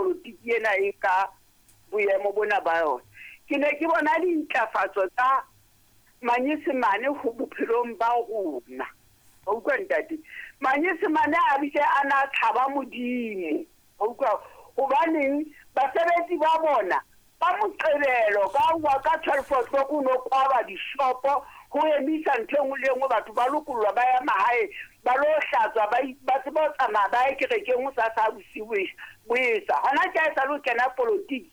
Politiki ena e ka boemo bona ba yona. Ke ne ke bona dintlafatso tsa Manyesemane ho bophelong ba rona. Wa utlwa, ntate? Manyesemane a bile a na tshaba Modimo. Wa utlwa? Hobaneng basebetsi ba bona ka Moqebelo ka wa ka 12 o'clock o no kwalwa dishopo, ho emisa ntho e nngwe le e nngwe, batho ba lokollwa, ba ya mahae, ba lo hlatswa, ba tseba ho tsamaya, ba ye kerekeng ho sasa bosiu boesa. Hona tje ha e sale ho kena politiki,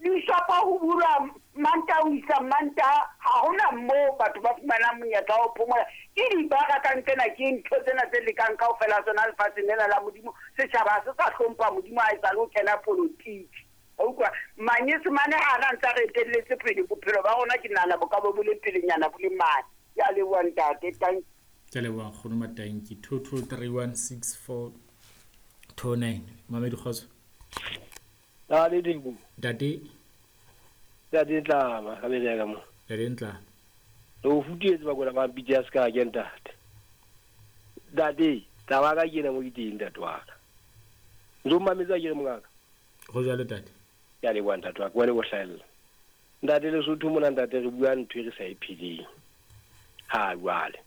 dishopo ho bulwa Mantaha ho isa Mantaha, ha hona moo batho ba fumanang monyetla wa ho phomola. Ke dibara ka nqena, ke ntho tsena tse lekang kaofela tsona lefatsheng lena la Modimo. Setjhaba ha se sa hlompha Modimo ha e sale ho kena politiki. Wa utlwa? Manyesemane ha ana ntse a re etelletse pele, bophelo ba rona ke nahana bo ka bo bo le pelenyana, bo le mane. Ke a leboha, ntate. Thank Ke a leboha, nkgono Matanki. 22316429. Mamedi, kgotso. Ntate Dinku. Ntate. Ntate Tlama, ka bele ka mo. Ntate Ntlama. Re o futetse bakona ba pitse ya ska ke, ntate. Ntate, taba ka ke ena mo ke teng, ntate wa ka. Ntso mametsa ke re, mongaka. Go jalo, tate. Ke a leboha, ntate wa ka, wena o hlahella. Ntate, Lesotho mona, ntate, re bua ntho e re sa e pheleng. Ha jwale.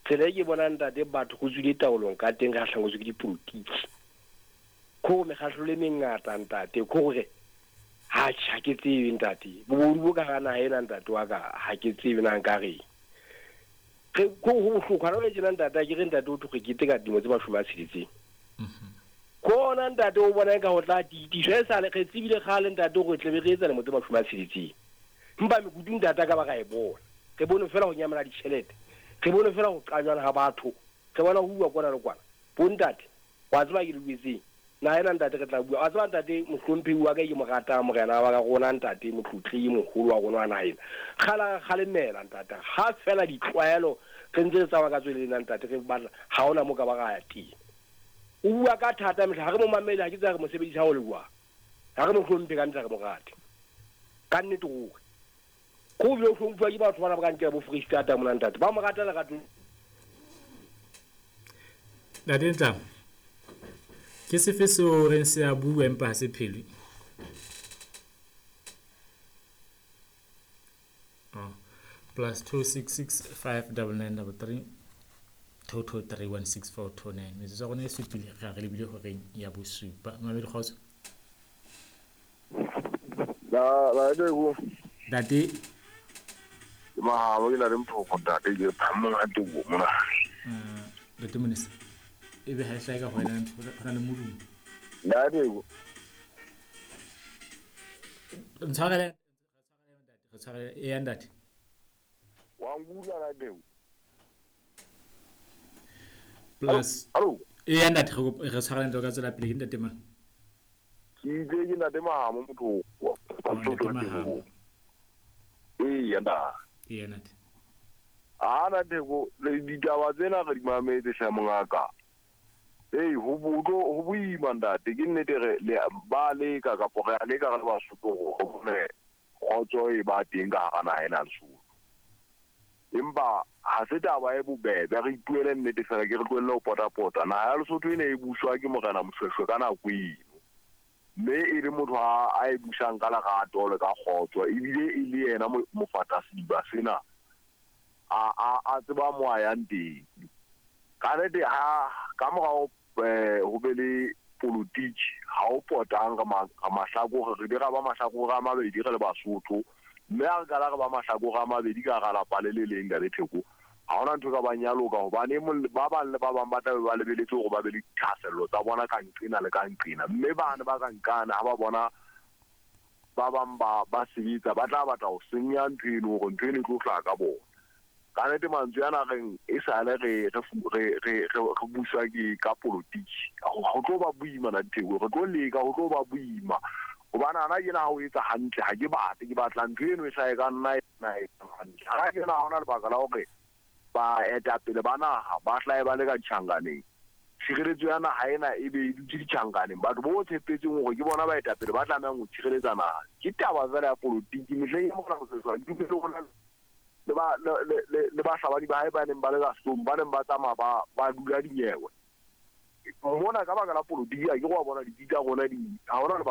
Tsela e ke bonang, ntate, batho go tswile taolong ka teng re hlangwetswe ke dipolotiki. Ko mekgahlelo e mengata, ntate, ko gore ha ha ke tsebe, ntate, bobodu bo ka hara naha ena, ntate wa ka, ha ke tsebe na nka reng. Re ko ho bohloko hana jwale tjena, ntate, ha ke re, ntate, o thwe re keteka dilemo tse 60. Kona, ntate, o bona eka ho tla tiitiswa e sale re tsebile kgale, ntate, hore tle be re etsa lemo tse 60. Empa mekutu, ntate, a ka ba ra e bona. Re bone fela ho nyamela ditjhelete. Re bone fela ho qajwana ha batho. Re bona ho uwa kwana le kwana. Bo ntate, wa tseba ke le buetseng. Naha ena, ntate, re tla bua. Wa tseba, ntate, mohlomphehi wa ka e ke mo ratang, morena wa ka rona, ntate, motlotlehi moholo wa rona wa naha ena. Kgale a re kgalemela, ntate. Ha fela ditlwaelo re ntse re tsamaya ka tswele lena, ntate, re batla ha hona mo ka ba ra ya teng. O bua ka thata mehla, ha re mo mamele, ha ke tseba re mo sebedisa ho le jwang. Ha re mo hlomphe ka nnete, ha re mo rate. Ka nnete ruri. Ko bile o hlomphuwa ke batho bana ba ka nkela bo Freistata mona, ntate. Ba mo rata lerato. Ntate Ntlama, ke sefe seo reng se a bua empa ha se phelwe? Oh. +266 5 99 33 223 16429. Metsotso ya rona e supile re re lebile horeng ya bosupa. Mamedi, kgotso. La la Dinku. Ntate. Ke mahabo, ke na le mphoko, ntate, ke phamong ha tebo mona. Ntate Monisa, ebe ha e hlae ka go wena, go na le modumo. La Dinku. Ntshwarele, re tshwarele e ya, ntate. Wa nkutlwa, la Dinku? Plus Hallo. E ya, ntate, re tshwarele ntlo ka tswela pele. Ke ntate mang? Ke itse ke ntate Mahamo, motho. Oh, ntate Mahamo. Ee, ntate. E ya, ntate. Ha na Theko, le ditaba tsena re di mametse hle, mongaka. Ei, ho boima, ntate, ke nnete re le ba leka kapo re a leka re le Basotho hore re bone kgotso e ba teng ka hara naha ena ya Lesotho. Empa ha se taba e bobebe, re ipuele nnete fela, ke re tlohelle ho pota-pota. Naha ya Lesotho e ne e buswa ke Morena Moshoeshoe ka nako eno. Mme e le motho a e busang ka lerato le ka kgotso, ebile e le yena mofatasediba sena a tseba mo a yang teng. Ka nnete ha ka morao ho be le politiki, ha o potang re mahlakore, re di ra ba mahlakore a mabedi re le Basotho, mme ha re qala re ba mahlakore a mabedi ka hara lapa le le leng, Ntate Theko, ha hona ntho e ka bang ya loka, hobane e mong ba bang le ba bang ba tlabe ba lebeletse hore ba be le dithahasello tsa bona ka nqena le ka nqena, mme bane ba ka nqane ha ba bona ba bang ba sebetsa, ba tla batla ho senya ntho eno hore ntho eno e tlo hlaha ka bona. Ka nnete mantswe ana reng e sale re buswa ke ka politiki, ho tlo ba boima na Theko, re tlo leka, ho tlo ba boima hobane hana kena ha o etsa hantle, ha ke batle, ke batla ntho eno e hlahe ka nna ena e hantle. Hana kena ha hona lebaka la hore baetapele ba naha ba hlahe ba le ka ditjhankaneng, tshireletso ya naha ena e be e dutse ditjhankaneng, batho bo tshepetseng hore ke bona baetapele ba tlamehang ho tshireletsa naha. Ke taba fela ya politiki. Mehleng ya Morena Moshoeshoe, ke dumele ho na le ba le bahlabani ba hae ba neng ba le ka sehloohong, ba neng ba tsamaya ba dula dinyewe mona ka baka la politiki. Ha ke wa bona ditsi tsa rona di ha hona lebaka.